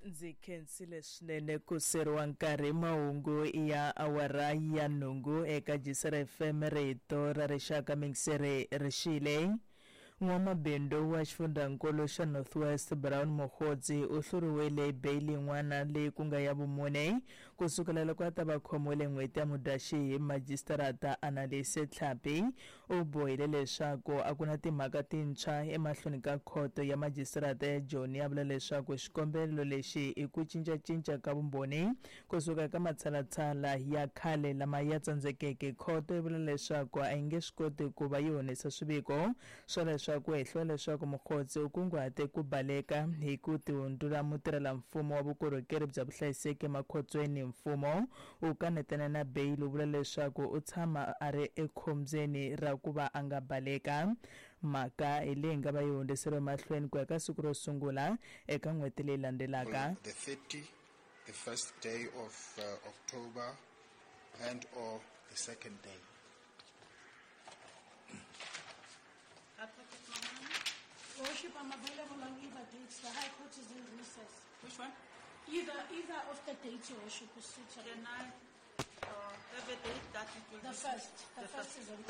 Ndzi khensile swinene ku seriwa nkarhi. Mahungu ya awara ya nhungu eka Jisera FM, rito ra rixaka. Mingiseri rixile. N'wamabindzu wa xifundzankulu xa North West Brown Mogotsi u hluriwile hi beyili yin'wana leyi ku nga ya vumune ku sukela loko a ta va khomiwile n'hweti ya Mudyaxihi hi majisitarata Annalise Tlhapi. U bohile leswaku a ku na timhaka tintshwa emahlweni ka khoto ya majisitarata ya Joni, a vula leswaku xikombelo lexi i ku cincacinca ka vumbhoni ku suka eka matshalatshala ya khale lama ya tsandzekeke. Khoto yi vula leswaku a yi nge swi koti ku va yi honisa swiviko swa leswaku hehliwa leswaku Mogotsi u kunguhate ku baleka hi ku tihundzula mutirhelamfumo wa vukorhokeri bya vuhlayiseki emakhotsweni. Mfumo u kanetana na beyili, u vula leswaku u tshama a ri ekhombyeni ra ku va a nga baleka. Mhaka hi leyi nga va yi hundziseriwe mahlweni ku ya ka siku ro sungula eka n'hweti leyi landzelaka. The 30, the first day of October, and or the second day. Advocate Mahane? Your Worship, I'm available on either dates. The High Court is in recess. Which one? Either of the dates, Your Worship, is suitable. Can I have a date that it will The be first. The first is on.